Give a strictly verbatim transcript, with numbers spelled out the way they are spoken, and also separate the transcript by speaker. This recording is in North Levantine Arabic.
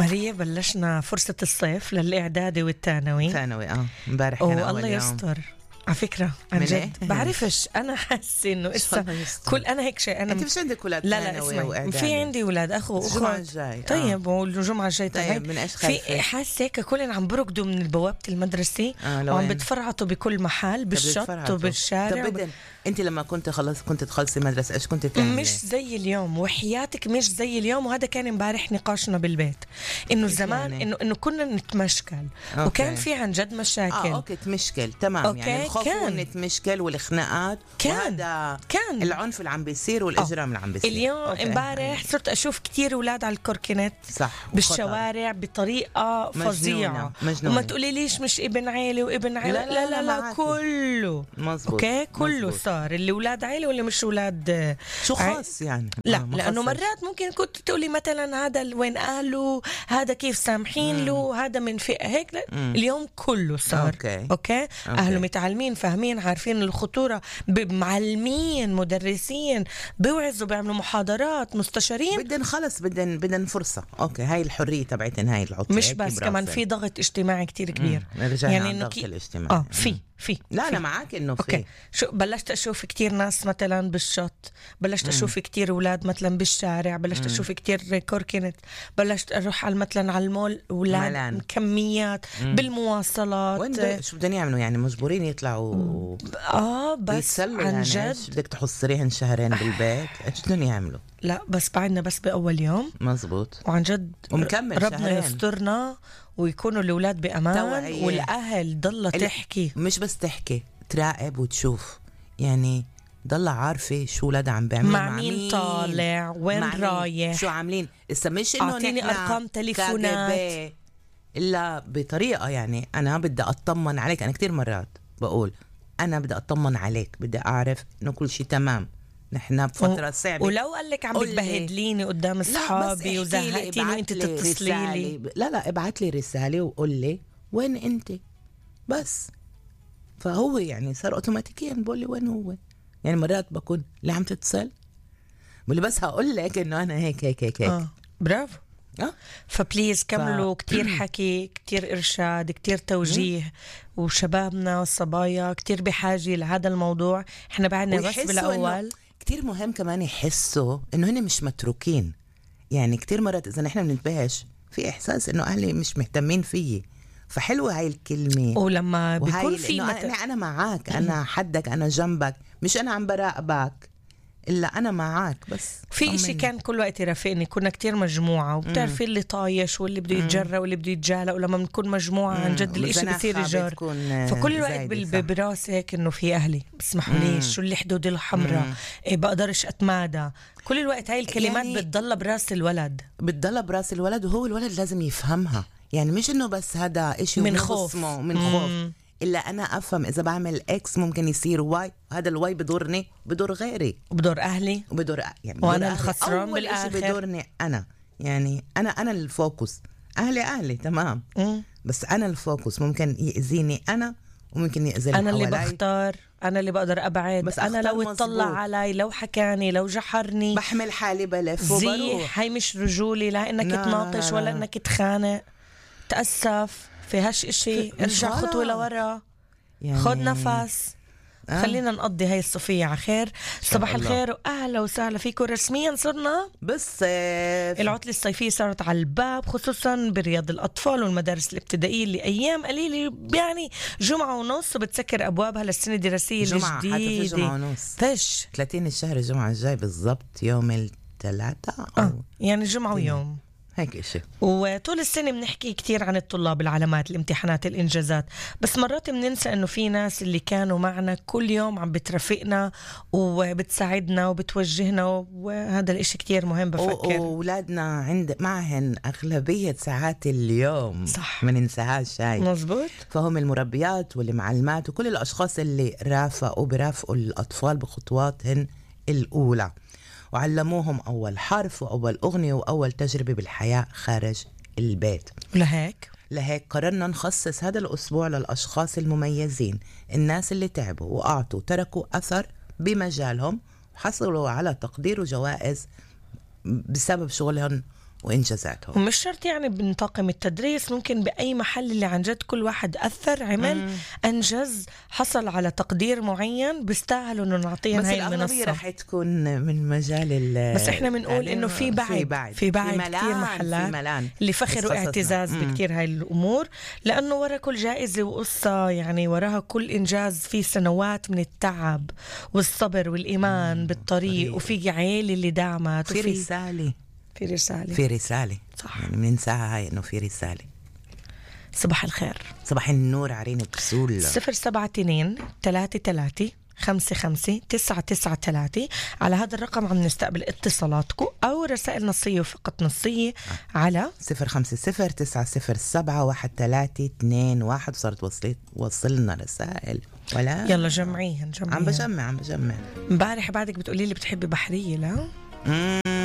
Speaker 1: ماريا بلشنا فرصة الصيف للإعدادي والثانوي.
Speaker 2: ثانوي اه امبارح كان أول
Speaker 1: الله
Speaker 2: يوم.
Speaker 1: يستر على فكرة عن جد بعرفش أنا حاسة إنه إسا كل أنا هيك شيء أنا
Speaker 2: أنت مش عندك أولاد
Speaker 1: لا لا
Speaker 2: ثانوي
Speaker 1: اسمعي
Speaker 2: وإعدادي؟
Speaker 1: في عندي أولاد أخو
Speaker 2: الجمعة
Speaker 1: أخوات
Speaker 2: الجاي
Speaker 1: طيب
Speaker 2: آه.
Speaker 1: والجمعة الجاي
Speaker 2: طيب من إيش خايفة؟
Speaker 1: في حاسة هيك كلهم عم بركضوا من بوابة المدرسة
Speaker 2: آه
Speaker 1: وعم بتفرعطوا بكل محل بالشط وبالشارع.
Speaker 2: طب بدن أنت لما كنت خلص كنت تخلصي مدرسة إيش كنت تعملي؟
Speaker 1: مش زي اليوم وحياتك مش زي اليوم. وهذا كان امبارح نقاشنا بالبيت إنه زمان
Speaker 2: يعني؟
Speaker 1: إنه إنه كنا نتمشكل
Speaker 2: أوكي.
Speaker 1: وكان في عن جد مشاكل.
Speaker 2: آه أوكي تمشكل تمام
Speaker 1: أوكي.
Speaker 2: يعني الخوف
Speaker 1: كان.
Speaker 2: نتمشكل والخناقات
Speaker 1: كان.
Speaker 2: وهذا
Speaker 1: كان
Speaker 2: العنف اللي عم بيصير والإجرام اللي عم بيصير.
Speaker 1: اليوم
Speaker 2: أوكي.
Speaker 1: امبارح صرت أشوف كتير أولاد على الكوركينت
Speaker 2: صح
Speaker 1: بالشوارع بطريقة فظيعة. وما تقولي ليش مش ابن عيلة وابن عيلة.
Speaker 2: لا
Speaker 1: لا
Speaker 2: لا,
Speaker 1: لا, لا, لا كله
Speaker 2: مزبوط.
Speaker 1: أوكي كله
Speaker 2: مزبوط.
Speaker 1: صار اللي أولاد عيلة واللي مش أولاد
Speaker 2: شو خاص يعني
Speaker 1: لا
Speaker 2: آه
Speaker 1: لأنه مرات ممكن كنت تقولي مثلا هذا وين أهله هذا كيف سامحين له هذا من فئة هيك لا. اليوم كله صار
Speaker 2: أوكي.
Speaker 1: أوكي, أوكي. أهله متعلمين فاهمين عارفين الخطورة معلمين مدرسين بيوعظوا بيعملوا محاضرات مستشارين.
Speaker 2: بدن خلص بدن بدن فرصة. أوكي هاي الحرية تبعتن هاي العطلة
Speaker 1: مش بس كمان في ضغط اجتماعي كتير كبير.
Speaker 2: يعني إنه كي...
Speaker 1: اه في في
Speaker 2: لا
Speaker 1: في.
Speaker 2: أنا معاك إنه في
Speaker 1: أوكي. شو بلشت أشوف كتير ناس مثلا بالشط بلشت مم. أشوف كتير أولاد مثلا بالشارع بلشت مم. أشوف كتير كوركينت بلشت أروح على مثلا على المول أولاد ملان. كميات مم. بالمواصلات
Speaker 2: وين شو بدنا يعملوا يعني مجبورين يطلعوا و...
Speaker 1: آه بس عن
Speaker 2: يعني
Speaker 1: جد
Speaker 2: بدك تحصريهن شهرين بالبيت إيش بدهم يعملوا؟
Speaker 1: لا بس بعدنا بس بأول يوم
Speaker 2: مزبوط
Speaker 1: وعن جد
Speaker 2: ومكمل
Speaker 1: ربنا
Speaker 2: شهرين.
Speaker 1: يسترنا ويكونوا الأولاد بأمان توعية. والأهل ضل تحكي
Speaker 2: مش بس تحكي تراقب وتشوف يعني ضل عارفة شو ولادها عم بيعملوا
Speaker 1: مع مين طالع وين رايح
Speaker 2: شو عاملين إسا مش إنه
Speaker 1: أعطيني أرقام تليفونات
Speaker 2: إلا بطريقة يعني أنا بدي أطمن عليك. أنا كتير مرات بقول أنا بدي أطمن عليك بدي أعرف إنه كل شيء تمام نحن بفترة صعبة.
Speaker 1: ولو قال لك عم بتبهدليني قدام أصحابي وزهقتيني وأنت تتصلي لي
Speaker 2: لا لا ابعت لي رسالة وقول لي وين أنت بس. فهو يعني صار أوتوماتيكيا بقول لي وين هو. يعني مرات بكون اللي عم تتصل بقول بس هقول لك إنه أنا هيك هيك هيك, هيك.
Speaker 1: آه. برافو
Speaker 2: أه؟
Speaker 1: فبليز كملوا ف... كتير حكي كتير إرشاد كتير توجيه وشبابنا والصبايا كتير بحاجة لهذا الموضوع. احنا بعدنا بس بالأول
Speaker 2: كتير مهم كمان يحسوا إنه هن مش متروكين. يعني كتير مرات إذا نحن بننتبهش في إحساس إنه أهلي مش مهتمين فيي. فحلوة هاي الكلمة
Speaker 1: ولما بيكون في
Speaker 2: مت... أنا, أنا معاك أنا حدك أنا جنبك مش أنا عم براقبك إلا أنا معاك بس
Speaker 1: في إشي كان كل وقت يرافقني. كنا كتير مجموعة وبتعرفي اللي طايش واللي بده يتجرى واللي بده يتجالى ولما بنكون مجموعة عن جد الإشي بصير يجار. فكل الوقت براسي هيك إنه في أهلي بسمحوا ليش شو اللي حدود الحمراء إيه بقدرش أتمادى. كل الوقت هاي الكلمات يعني بتضل براس الولد بتضل
Speaker 2: براس الولد وهو الولد لازم يفهمها. يعني مش إنه بس هذا إشي
Speaker 1: من خوف
Speaker 2: من خوف إلا أنا أفهم إذا بعمل إكس ممكن يصير واي. هذا الواي بدورني بدور غيري
Speaker 1: وبدور أهلي
Speaker 2: وبدور يعني
Speaker 1: وأنا الخسران بالآخر
Speaker 2: بدورني أنا. يعني أنا أنا الفوكس. أهلي أهلي تمام مم. بس أنا الفوكس ممكن يأذيني أنا وممكن يأذي
Speaker 1: أنا اللي بختار أنا اللي بقدر أبعد. بس أنا لو اطلع علي لو حكاني لو جحرني
Speaker 2: بحمل حالي بلف وبروح.
Speaker 1: هاي مش رجولي لا إنك تناطش ولا إنك تخانق تأسف في هاش إشي ارجع خطوة لورا يعني خد نفس آه. خلينا نقضي هاي الصفية على خير. صباح الخير وأهلا وسهلا فيكم. رسميا صرنا
Speaker 2: بالصيف
Speaker 1: العطلة الصيفية صارت على الباب خصوصا برياض الأطفال والمدارس الابتدائية اللي أيام قليلة يعني جمعة ونص بتسكر أبوابها للسنة الدراسية
Speaker 2: جمعة
Speaker 1: الجديدة.
Speaker 2: حتى في جمعة ونص
Speaker 1: فش
Speaker 2: ثلاثين الشهر الجمعة الجاي بالضبط يوم الثلاثة
Speaker 1: آه. يعني جمعة ويوم
Speaker 2: هيك إشي.
Speaker 1: وطول السنة بنحكي كتير عن الطلاب العلامات الامتحانات الإنجازات بس مرات بننسى إنه في ناس اللي كانوا معنا كل يوم عم بترافقنا وبتساعدنا وبتوجهنا وهذا الإشي كتير مهم بفكر.
Speaker 2: وأولادنا عند معهن أغلبية ساعات اليوم
Speaker 1: صح
Speaker 2: ما ننساهاش هاي
Speaker 1: مزبوط.
Speaker 2: فهم المربيات والمعلمات وكل الأشخاص اللي رافقوا برافقوا الأطفال بخطواتهن الأولى وعلموهم أول حرف وأول أغنية وأول تجربة بالحياة خارج البيت.
Speaker 1: لهيك
Speaker 2: لهيك قررنا نخصص هذا الأسبوع للأشخاص المميزين الناس اللي تعبوا وأعطوا تركوا أثر بمجالهم وحصلوا على تقدير وجوائز بسبب شغلهم وإنجازاتهم.
Speaker 1: ومش شرط يعني بنطاقم التدريس، ممكن بأي محل اللي عن جد كل واحد أثر عمل مم. أنجز حصل على تقدير معين بيستاهلوا إنه نعطيهم هاي المنصة.
Speaker 2: بس الأغلبية رح تكون من مجال ال
Speaker 1: بس إحنا بنقول إنه في بعد في بعد, في بعد في كتير محلات اللي فخر واعتزاز بكتير هاي الأمور، لأنه ورا كل جائزة وقصة يعني وراها كل إنجاز في سنوات من التعب والصبر والإيمان مم. بالطريق، وفي عيلة اللي دعمت،
Speaker 2: وفي رسالة
Speaker 1: في رسالة
Speaker 2: في رسالة
Speaker 1: صح.
Speaker 2: يعني بننساها هاي إنه في رسالة.
Speaker 1: صباح الخير.
Speaker 2: صباح النور عرين بسول.
Speaker 1: صفر سبعة اتنين تلاتة تلاتة خمسة خمسة تسعة تسعة تلاتة. على هذا الرقم عم نستقبل اتصالاتكم أو رسائل نصية وفقط نصية آه. على
Speaker 2: صفر خمسة صفر تسعة صفر سبعة واحد ثلاثة اثنين واحد. صارت وصلت وصلنا رسائل ولا
Speaker 1: يلا جمعيهن جمعيهن.
Speaker 2: عم بجمع عم بجمع
Speaker 1: امبارح بعدك بتقولي لي بتحبي بحرية لا؟